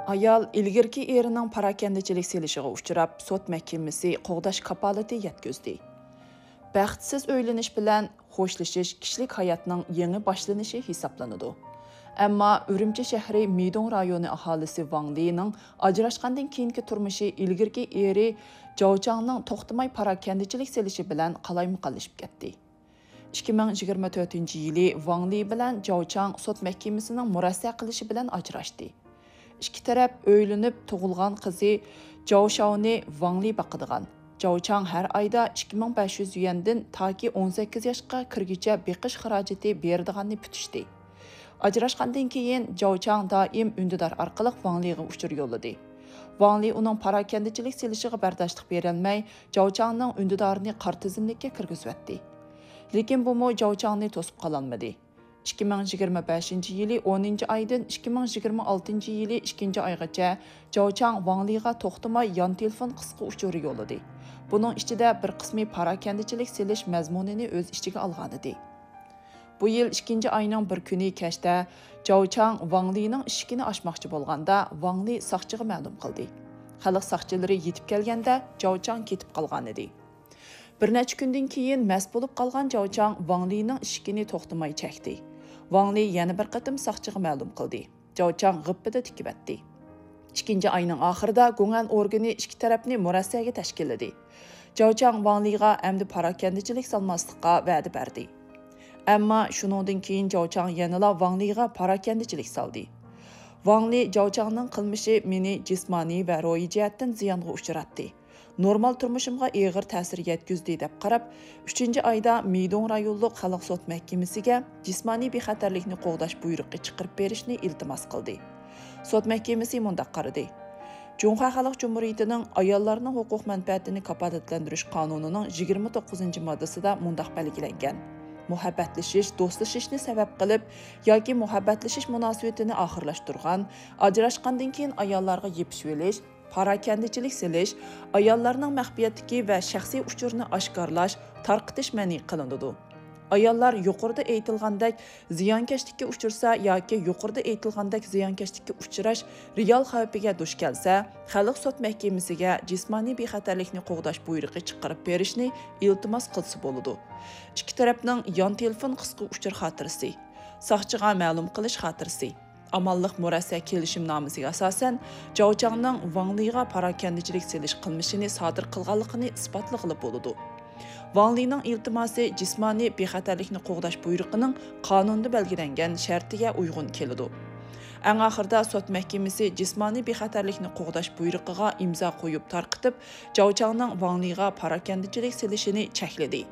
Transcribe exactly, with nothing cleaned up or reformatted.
ئايال ئىلگىرىكى ئېرىنىڭ پاراكەندىچىلىك سېلىشىغا ئۇچراپ، سوت مەھكىمىسى قوغداش كاپالىتى يەتكۈزدى. بەختسىز ئۆيلىنىش بىلەن خوشلىشىش كىشىلىك ھاياتنىڭ يېڭى باشلىنىشى ھېسابلىنىدۇ. ئەمما ئۈرۈمچى شەھىرى مىدوڭ رايونى ئاھالىسى ۋاڭ لىنىڭ ئاجراشقاندىن كېيىنكى تۇرمۇشى ئىلگىرىكى ئېرى جاۋ چاڭنىڭ توختىماي پاراكەندىچىلىك سېلىشى بىلەن قالايمىقانلىشىپ كەتتى. ئىككى مىڭ يىگىرمە تۆتىنچى يىلى ۋاڭ لى بىلەن جاۋ چاڭ سوت مەھكىمىسىنىڭ مۇرەسسە قىلىشى بىلەن ئاجراشتى. ئىككى تەرەپ ئۆيلىنىپ، تۇغۇلغان قىزى جاۋ شاۋنى ۋاڭ لى باقىدىغان. جاۋ چاڭ ھەر ئايدا ئىككى مىڭ بەش يۈز يۈەندىن تاكى ئون سەككىز ياشقا كىرگۈچە بېقىش خىراجىتى بېرىدىغاننى پۈتۈشتى. ئاجراشقاندىن كېيىن جاۋ چاڭ دائىم ئۈندىدار ئارقىلىق ۋاڭ لىغا ئۇچۇر يوللىدى. ۋاڭ لى ئۇنىڭ پاراكەندىچىلىك سېلىشىغا بەرداشلىق بېرەلمەي، جاۋ چاڭنىڭ ئۈندىدارىنى قارا تىزىملىككە كىرگۈزۈۋەتتى. لېكىن بۇمۇ جاۋ چاڭنى توسۇپ قالالمىدى. ئىككى مىڭ يىگىرمە بەشىنچى يىلى ئونىنچى ئايدىن ئىككى مىڭ يىگىرمە ئالتىنچى يىلى ئىككىنچى ئايغىچە جاۋ چاڭ ۋاڭ لىغا توختىماي يان تېلېفون قىسقا ئۇچۇرى يوللىدى. بۇنىڭ ئىچىدە بىر قىسمى پاراكەندىچىلىك سېلىش مەزمۇنىنى ئۆز ئىچىگە ئالغانىدى. بۇ يىل ئىككىنچى ئاينىڭ بىر كۈنى كەچتە جاۋ چاڭ ۋاڭ لىنىڭ ئىشىكىنى ئاچماقچى بولغاندا، ۋاڭ لى ساقچىغا مەلۇم قىلدى. خەلق ساقچىلىرى يېتىپ كەلگەندە، جاۋ چاڭ كېتىپ قالغانىدى. بىر نەچچە كۈندىن كېيىن مەست بولۇپ قالغان جاۋ چاڭ ۋاڭ لىنىڭ ئىشىكىنى توختىماي چەكتى. ۋاڭ لى يەنە بىر قېتىم ساقچىغا مەلۇم قىلدى. جاۋ چاڭ غىپپىدە تىكىۋەتتى. ئىككىنچى ئاينىڭ ئاخىرىدا گۇڭئەن ئورگىنى ئىككى تەرەپنى مۇرەسسەگە تەشكىللىدى. جاۋ چاڭ ۋاڭ لىغا ئەمدى پاراكەندىچىلىك سالماسلىققا ۋەدە بەردى. ئەمما شۇنىڭدىن كېيىن جاۋ چاڭ يەنىلا ۋاڭ لىغا پاراكەندىچىلىك سالدى. ۋاڭ لى جاۋ چاڭنىڭ قىلمىشى مېنى جىسمانىي ۋە روھىي جەھەتتىن زىيانغا ئۇچراتتى. نورمال تۇرمۇشۇمغا ئېغىر تەسىر يەتكۈزدى، دەپ قاراپ، ئۈچىنچى ئايدا مىدوڭ رايونلۇق خەلق سوت مەھكىمىسىگە جىسمانىي بىخەتەرلىكنى قوغداش بۇيرۇقى چىقىرىپ بېرىشنى ئىلتىماس قىلدى. سوت مەھكىمىسى مۇنداق قارىدى: جۇڭخۇا خەلق جۇمھۇرىيىتىنىڭ ئاياللارنىڭ ھوقۇق مەنپەئەتىنى كاپالەتلەندۈرۈش قانۇنىنىڭ يىگىرمە توققۇزىنچى ماددىسىدا مۇنداق بەلگىلەنگەن: مۇھەببەتلىشىش، دوستلىشىشنى سەۋەب قىلىپ ياكى مۇھەببەتلىشىش مۇناسىۋىتىنى ئاخىرلاشتۇرغان، ئاجراشقاندىن كېيىن ئاياللارغا يېپىشىۋېلىش، پاراكەندىچىلىك سېلىش، ئاياللارنىڭ مەخپىيەتلىكى ۋە شەخسىي ئۇچۇرىنى ئاشكارىلاش، تارقىتىش مەنئى قىلىنىدۇ. ئاياللار يۇقىرىدا ئېيتىلغاندەك زىيانكەشلىككە ئۇچرىسا ياكى يۇقىرىدا ئېيتىلغاندەك زىيانكەشلىككە ئۇچراش رېئال خەۋپىگە دۇچ كەلسە، خەلق سوت مەھكىمىسىگە جىسمانىي بىخەتەرلىكنى قوغداش بۇيرۇقى چىقىرىپ بېرىشنى ئىلتىماس قىلسا بولىدۇ. ئىككى تەرەپنىڭ يان تېلېفون قىسقا ئۇچۇر خاتىرىسى، ساقچىغا مەلۇم قىلىش خاتىرىسى، ئامانلىق مۇرەسسە كېلىشىمنامىسىگە ئاساسەن، جاۋ چاڭنىڭ ۋاڭ لىغا پاراكەندىچىلىك سېلىش قىلمىشىنى سادىر قىلغانلىقىنى ئىسپاتلىغىلى بولىدۇ. ۋاڭ لىنىڭ ئىلتىماسى جىسمانىي بىخەتەرلىكنى قوغداش بۇيرۇقىنىڭ قانۇندا بەلگىلەنگەن شەرتىگە ئۇيغۇن كېلىدۇ. ئەڭ ئاخىرىدا سوت مەھكىمىسى جىسمانىي بىخەتەرلىكنى قوغداش بۇيرۇقىغا ئىمزا قويۇپ تارقىتىپ، جاۋ چاڭنىڭ ۋاڭ لىغا پاراكەندىچىلىك سېلىشىنى چەكلىدى.